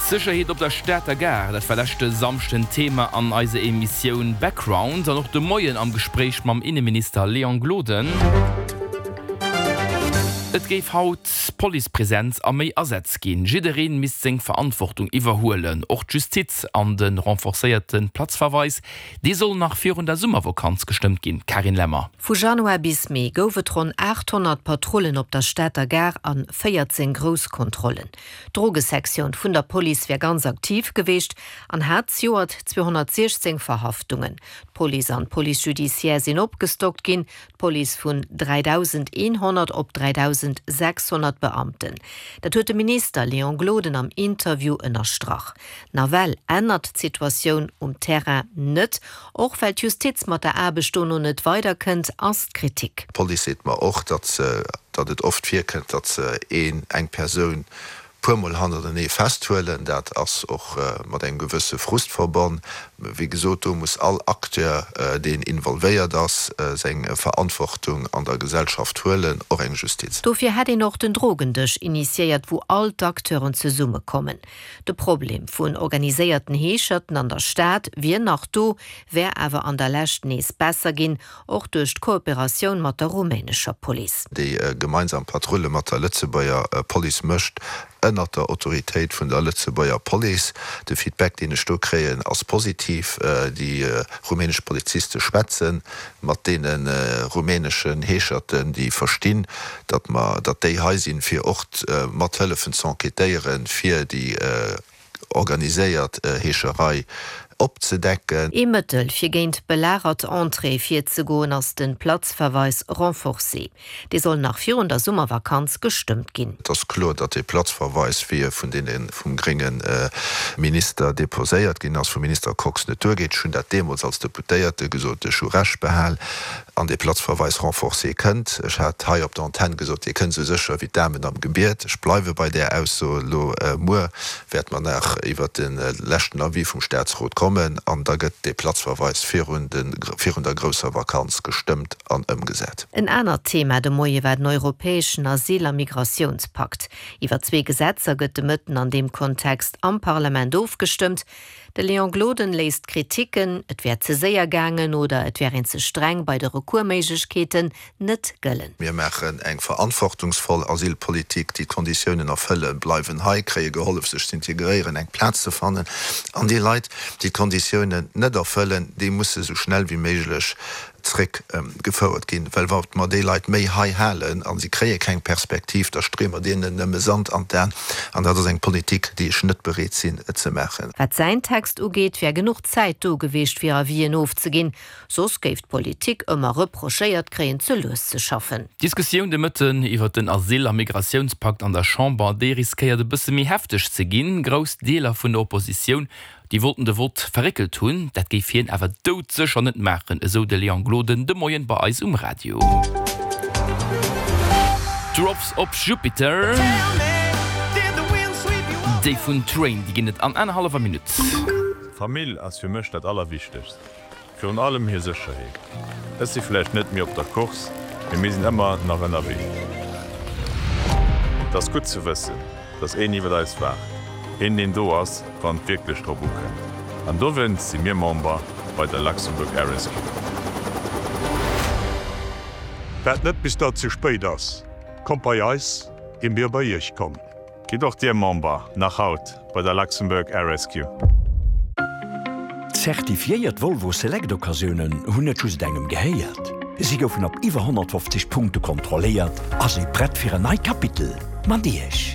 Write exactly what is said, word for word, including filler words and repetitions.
D'Sécherheet op der Stater Gare, dat war leschte Samschden Thema an eiser Emissioun Background an och de Moien am Gespréich mam Inneminister Léon Gloden. Et géif haut Policepresenz a méi Asätz ginn. Jidderee misst seng Verantwortung iwwerhuelen, och d'Justiz. An de renforcéierte Platzverweis, dee soll nach virun der Summervakanz gestëmmt ginn. Carine Lemmer. Vu Januar bis Mee gouf et ronn aathonnert Patrullen op der Stater Gare an véierzéng grouss Kontrollen. D'Drogesektioun vun der Police wär ganz aktiv geweecht an hat zejoert zweehonnertsiechzéng Verhaftungen. D'Police an d'Police judiciaire sinn opgestockt ginn, d'Police vun dräidausendeenhonnert op dräidausendsechshonnert Beamten. Dat huet de Minister Léon Gloden am Interview ënnerstrach. Nawell ännert d'Situatioun um Terrain net, och well d'Justiz mat der Aarbecht dono net weiderkënnt, ass d'Kritik. D'Police seet mer och, datt datt et oft virkënnt, datt se een, eng Persoun puermol hannertenee festhuelen. Dat ass och mat engem gewësse Frust verbonn. Wéi gesot, do muss all Acteur, deen involvéiert ass, seng Verantwortung an der Gesellschaft huelen, och eng Justiz. Dofir hätt een och den Drogendësch initiéiert, wou all d'Acteuren zesummekommen. De Problem vun organiséierten Heescherten an der Stad wier nach do, wär awer an der Lescht nees besser ginn, och duerch d'Kooperatioun mat der rumänescher Police. Déi gemeinsam Patrulle mat der Lëtzebuerger Police mécht ënnert der Autoritéit vun der Lëtzebuerger Police. De Feedback, deen ech do kréien, ass positiv. Déi rumänesch Poliziste schwätze mat deene rumäneschen Heescherten, déi verstinn, datt mer, datt déi hei sinn, fir och mat hëllefen z'enquêtéieren, fir déi organiséiert Heescherei opzedecken. Ee Mëttel, fir géint belagert Entréeë virzegoen, ass de Platzverweis renforcé. Dee soll nach virun der Summervakanz gestëmmt ginn. Et ass kloer, datt dee Platzverweis, wéi e vun deene vum grénge Minister deposéiert ginn ass, vum Minister Kox, net duergeet. Ech hunn dat deemools als Deputéierte gesot, ech hu Recht behal. An dee Platzverweis renforcé kënnt. Ech hat hei op der Antenn gesot, dee kënnt esou sécher wéi d'Amen am Gebiet. Ech bleiwe bei där Ausso. Elo muer wäerte mer nach iwwert de leschten Avis vum Statsrot kommen an da gëtt dee Platzverweis virun de, virun der grousser Vakanz gestëmmt an ëmgesat. En anert Thema de Moie war den europäeschen Asyl a Migratiounspakt. Iwwer zwee Gesetzer gëtt de Mëtten an deem Kontext am Parlament ofgestëmmt. De Léon Gloden léisst d'Kriticken, et wär ze séier gaangen oder et wär een ze streng bei de Recoursméiglechkeeten, net gëllen. Mir maachen eng verantwortungsvoll Asylpolitik. Déi d'Konditiounen erfëllen, bleiwen hei, kréie gehollef sech z'integréieren, eng Plaz ze fannen. An déi Leit, déi d'Konditiounen net erfëllen, déi musse sou schnell wéi méiglech zréck gefouert ginn, well wa mer déi Leit méi hei halen a si kréie keng Perspektiv, da streeë mer deenen nëmme Sand an d'Aen an dat ass eng Politik, déi ech net bereet sinn ze maachen. Wat säin Text ugeet, wär genuch Zäit do geweecht fir Avisen ofzeginn, soss géif d'Politik ëmmer reprochéiert kréien ze lues ze schaffen. D'Diskussioun de Mëtten iwwert den Asyl a Migratiounspakt an der Chamber, déi riskéiert e bësse méi hefteg ze ginn. Grouss Deeler vun der Oppositioun Déi wollten de Vott verréckelt hunn. Dat géif hien awer doudsécher net maachen, esou de Léon Gloden de Moien bei eis um Radio. Drops op Jupiter, déi vun Train, déi ginn et an anerhallwer Minutt. D'Famill ass fir mech dat Allerwichtegst. Virun allem hir Sécherheet. Ech si vläicht net méi op der Course, mee mir sinn ëmmer nach ënnerwee. Et ass gutt ze wëssen, dass een iwwer eis waacht, een deen do ass, wann et wierklech drop ukënnt. An dowéinst si mir Member bei der Luxembourg Air Rescue. Waart net bis dat ze spéit ass, kommt bei eis, ier mir bei iech kommen. Gitt och Dir Member, nach haut, bei der Luxembourg Air Rescue. Zertifiéiert Volvo Select Occasiounen hunn net just engem gehéiert. Si goufen op iwwer honnertfofzeg Punkte kontrolléiert a si prett fir en neit Kapitel mat Iech.